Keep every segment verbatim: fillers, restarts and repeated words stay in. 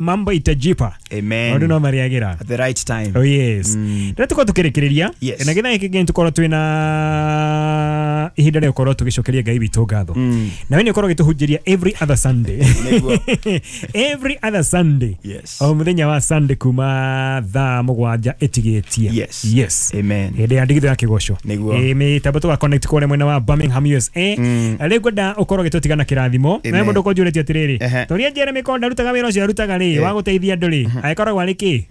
Mambo itajipa. Amen. Maundu no mariagira at the right time. Oh yes. Mm. Rĩrĩa tũkorwo tũkĩrĩkĩrĩria Yes. na gĩthaa gĩkĩ gĩngĩ tũkorwo twĩna ihinda rĩa gũkorwo tũgĩcokeria Ngai witũ ngatho. Mm. Na we nĩ ũkorwo ũgĩtũhunjĩria every other Sunday. Nĩguo. Every other Sunday. Yes. O mũthenya wa Sunday kuma thaa mũgwanja ĩtigĩtie. Yes. Yes. Amen. Hĩndĩ ya ndigithũ ya kĩgoco. Nĩguo. Ĩ mĩtambo tũga connect kũrĩa mwena wa Birmingham U S A. Mm. Rĩu ngwenda ũkorwo ũgĩtũtiga na kĩrathimo. Amen. Na mũndũ ũkorwo ũnjũrĩtie atĩrĩrĩ, Ehe. toria Jeremy Konda arutaga wĩra ũcio arutaga rĩ, Eh. wa gũteithia andũ rĩ, agĩkoragwo arĩ kĩ?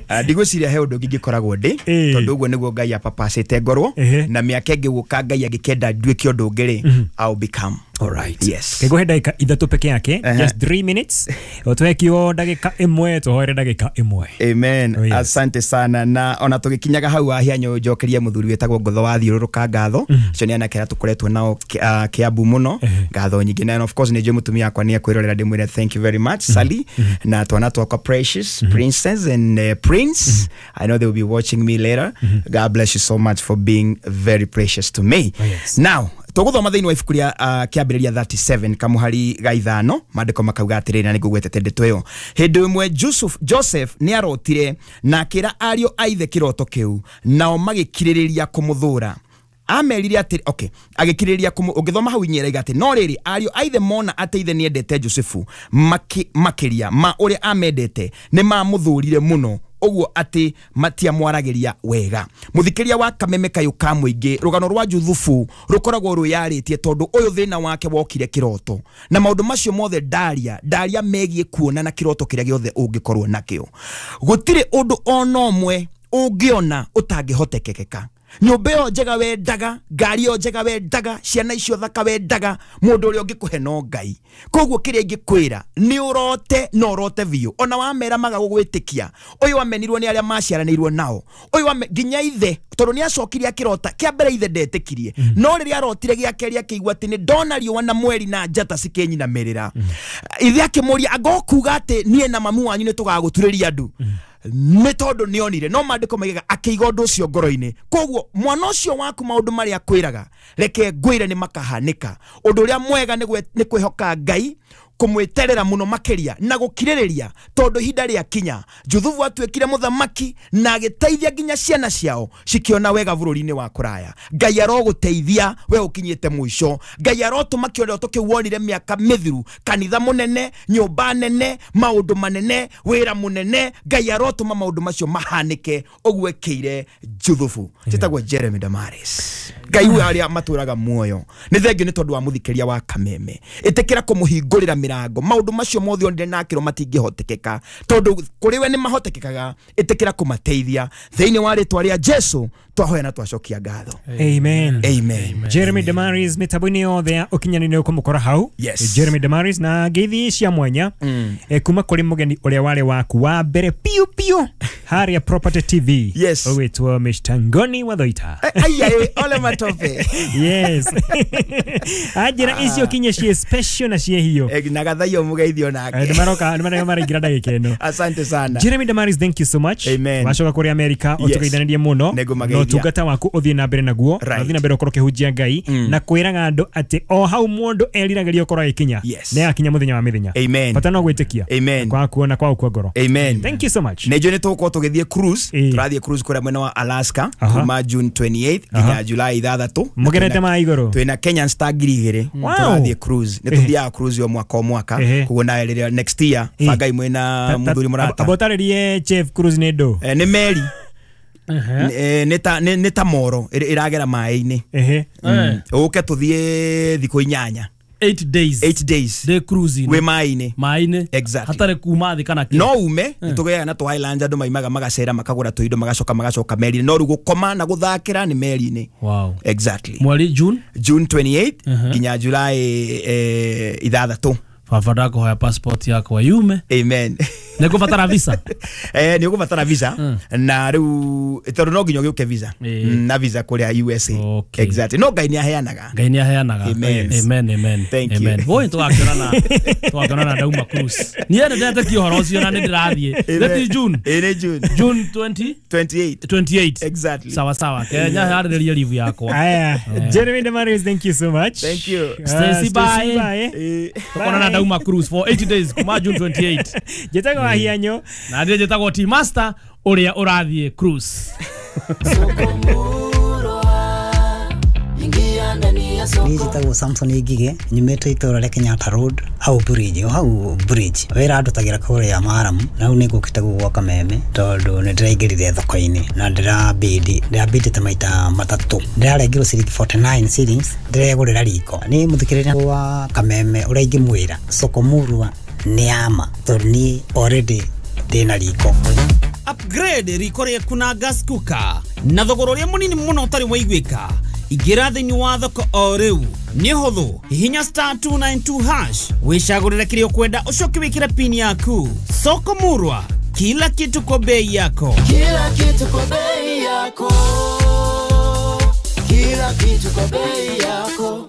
Ah, ndigwĩciria he ũndũ ũngĩ ingĩkoragwo ndĩ Ĩĩ. tondũ ũguo nĩguo Ngai apapacĩte ngorwo Ehe. na mĩaka ĩngĩ gũka Ngai angĩkenda nduĩke ũndũ ũngĩ rĩ, I'll become. Alright. Yes. Kĩngũhe ndagĩka ithatũ peke yake, Ehe. just three minutes. Ũtũhe kiugo ndagĩka ĩmwe, tũhoere ndagĩka ĩmwe. Amen. Oh, yes. Asante sana na ona tũgĩkinyaga hau ahianyo njokerie mũthuri wĩtagwo Ngotho wa thiũrũrũka ngatho acio nĩ anake arĩa tũkoretwo nao Ki- ah, Kiambu mũno ngatho nyingĩ na of course nĩ njũĩ mũtumia wakwa nĩ ekwĩrorera ndĩmwĩre thank you very much Sally na twana twakwa Precious Princess and uh, Prince. I know they will be watching me later. God bless you so much for being very precious to me. Oh, yes. Now tũgũthoma thĩinĩ wa ibuku rĩa uh, kĩambĩrĩria thirty-seven kamuhari ga ithano maandĩko makauga atĩrĩrĩ na nĩngũgwetete ndeto ĩyo. Hĩndĩ ĩmwe Joseph, Joseph nĩ arotire na akĩra ariũ a ithe kĩroto kĩu nao magĩkirĩrĩria kũmũthũra. Amerire atĩ okay agĩkirĩrĩria kũmũ ũngĩthoma hau inyera iga atĩ no rĩrĩ ariũ a ithe mona atĩ ithe nĩendete Josefu maki, makĩria ma ũrĩa amendete nĩ mamũthũrire mũno ũguo atĩ matiamwaragĩria wega. Mũthikĩria wa Kameme Kayũ ka Mũingĩ, rũgano rwa Juthubu rũkoragwo rwĩyarĩtie tondũ ũyũ thĩna wake wokire kĩroto na maũndũ macio mothe ndaria ndaria megiĩ kuona na kĩroto kĩrĩa gĩothe ũngĩkorwo nakĩo. Gũtirĩ ũndũ ona ũmwe ũngĩona ũtangĩhotekekeka. Nyũmba ĩyo njega wendaga, ngari ĩyo njega wendaga, ciana icio thaka wendaga, mũndũ ũrĩa ũngĩkũhe no Ngai. Koguo kĩrĩa ingĩkwĩra nĩ ũrote na ũrote biũ. Ona wamera maga gũgwĩtĩkia, ũyũ amenirwo nĩ arĩa maciaranĩirwo nao, ũyũ ame nginya ithe, tondũ nĩ acokire akĩrota kĩa mbere ithe ndetĩkirie, no rĩrĩa arotire gĩa kerĩ akĩigua atĩ nĩ ndona riũa na mweri na njata cikĩnyinamĩrĩra. Ithe akĩmũria anga ũkuga atĩ niĩ na mamu wanyu nĩ tũgagũturĩria ndu? Nĩ tondũ nĩonire no maandĩko maigaga akĩiga ũndũ ũcio ngoro-inĩ. Koguo mwana ũcio waku maũndũ marĩa akwĩraga reke ngwĩre nĩ makahanĩka. Ũndũ ũrĩa mwega nĩ gwe- nĩ kwĩhoka Ngai, kũmwĩterera mũno makĩria na gũkirĩrĩria tondũ ihinda rĩakinya Juthubu atuĩkire mũthamaki na agĩteithia nginya ciana ciao cikĩona wega bũrũri-inĩ wa kũraya. Ngai arogũteithia we ũkinyĩte mũico. Ngai arotũma kĩroto kĩu wonire mĩaka mĩthiru, kanitha mũnene, nyũmba nene, maũndũ manene, wĩra mũnene. Ngai arotũma maũndũ macio mahanĩke ũguo ekĩire Juthubu. Njĩtagwo Jeremy Damaris. Ngai we arĩa matũraga muoyo nĩ thengio nĩ tondũ wa mũthikĩria wa Kameme. Ĩtĩkĩra kũmũhingũrĩra mĩrango maũndũ macio mothe onire na akĩrwo matingĩhotekeka tondũ kũrĩ we nĩ mahotekekaga. Ĩtĩkĩra kũmateithia thĩinĩ wa rĩtwa rĩa Jesu twahoya na twacokia ngatho. Amen. Amen. Jeremy Damaris mĩtambo-inĩ yothe ya ũkinyanĩria ũkũmũkora hau. Yes. Jeremy Damaris na ngeithi cia mwanya Mm. eh, kuma kũrĩ mũgeni ũrĩa warĩ waku wa mbere piũ piũ harĩa Property T V. Yes. Ũgwĩtwo Mister Ngoni wa Thoita. Eh, ai ai ole matope. Yes. Anjĩra icio kinye ciĩ special na ciĩ hiũ. Eh, na gathaiyo mũgeithio nake. Eh, nĩmaroka nĩmaroka maraingĩra ndagĩka ĩno. Asante sana. Jeremy Damaris, thank you so much. Amen. Wacoka kũrĩa America Yes. ũtũgeithanĩrie mũno. Nĩngũmageithia. Na ũtungata waku ũthiĩ na mbere naguo. Right. Na ũthiĩ na mbere ũkorwo ũkĩhunjia Ngai na kwĩraga andũ atĩ o hau mũndũ eriragĩria ũkorwo agĩkinya. Yes. Nĩ akinya mũthenya wa mĩthenya. Amen. Bata no gwĩtĩkia. Amen. Kwa kuona kwa gũkua ngoro. Amen. Thank you so much. Nĩ njũĩ nĩ tũgũkorwo tũgĩthiĩ cruise. Ĩĩ. Tũrathiĩ cruise kũrĩa mwena wa Alaska Aha. kuma June twenty-eighth nginya July ithathatũ. Mũgerete ma igũrũ. Twĩna Kenyan Star ngiri igĩrĩ. Wow. Tũrathiĩ cruise. Nĩ tũthiaga cruise o mwaka o mwaka. Ehe. Koguo nawe rĩrĩa next year Ĩĩ. bangai mwĩna mũthuri mũrata. Amba ũtarĩrie Jeff Cruise nĩ ndũ. Eh, nĩ meri. Ehe. Eh, nĩ ta nĩ nĩ ta moro ĩrĩ- ĩragera maĩ-inĩ. Ehe. Eh, Ũke tũthiĩ thikũ inyanya. eight days. Eight days. Day cruising. Wĩ maĩ-inĩ. Maĩ-inĩ. Exactly. Hatarĩ kuma thĩ kana kĩ. No ume nĩ tũgĩaga na tũ islands andũ maimaga magacera makagũra tũindo magacoka magacoka meri-inĩ no rĩu gũkoma na gũthakĩra nĩ meri-inĩ. Wow. Exactly. Mweri June June twenty-eighth Mhm. nginya July eh, ithathatũ. Baba ndakũhoya passport yakwa yume. Amen. Nĩ ngũbatara visa. Eh, nĩ ũgũbatara visa na rĩu tondũ no nginya ũgĩũke visa. Ĩĩ. Mm, na visa kũrĩa U S A. Okay. Exactly, no Ngai nĩ aheanaga. Ngai nĩ aheanaga. Amen. Amen, amen. Thank you. Amen. Woi, tũgakĩonana tũgakĩonana ndauma cruise. Niĩ nĩ ndetĩkia ũhoro ũcio na nĩ ndĩrathiĩ. Amen. Nĩ ti June? Ĩĩ, nĩ June. June twenty twenty-eight. twenty-eight. Exactly. Sawa sawa, Kenya harĩrĩrie leave yakwa. Aya, Jeremy Damaris, thank you so much. Thank you. Uh, Stacy, bye. Bye. Ĩĩ. Tũkonana ndauma cruise for eighty days kuma June twenty-eight. Njĩtagwo Wahianyo. Na niĩ njĩtagwo T Master ũrĩa ũrathiĩ cruise. Niĩ njĩtagwo Samson Ngige, nyumĩte itũra rĩa Kenyatta Road, hau bridge, o hau bridge. Wĩra ndutagĩra kũrĩa Maramu, na rĩu nĩ ngũkĩte gũkũ gwa Kameme tondũ nĩ ndĩraingĩrire thoko-inĩ na ndĩrabidi, ndĩrabidĩte maita matatũ. Ndĩrarengirwo ciringi forty-nine shillings, ndĩregũrĩra riko. Niĩ mũthikĩrĩria wa Kameme ũrĩa ingĩmwĩra, soko murwa nĩ ama, tondũ niĩ already ndĩna riko. Upgrade riko rĩaku na gas cooker na thogora ũrĩa mũnini mũno ũtarĩ waiguĩka. Ingĩra thĩinĩ wa thoko o rĩu, nĩ hũthũ, hihinya star two nine two hash, wĩcagũrĩre kĩrĩa ũkwenda, ũcoke wĩkĩre pin yaku. Soko murwa, kila kitu kwa bei yako. Kila kitu kwa bei yako. Kila kitu kwa bei yako.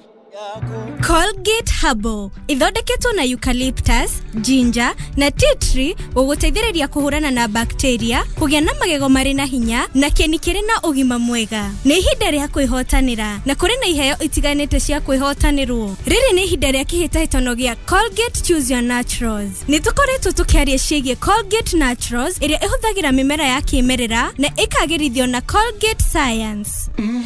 Colgate Herbal ithondeketwo na eucalyptus, ginger na tea tree gũgũteithĩrĩria kũhũrana na bacteria, kũgĩa na magego marĩ na hinya na kĩni kĩrĩ na ũgima mwega. Nĩ ihinda rĩa kwĩhotanĩra na kũrĩ na iheo itiganĩte cia kwĩhotanĩrwo. Rĩrĩ nĩ ihinda rĩa kĩhĩtahĩtano gĩa Colgate Choose Your Naturals. Nĩ tũkoretwo tũkĩaria ciĩgiĩ Colgate Naturals ĩrĩa ĩhũthagĩra mĩmera ya kĩmerera na ĩkagĩrithio na Colgate Science.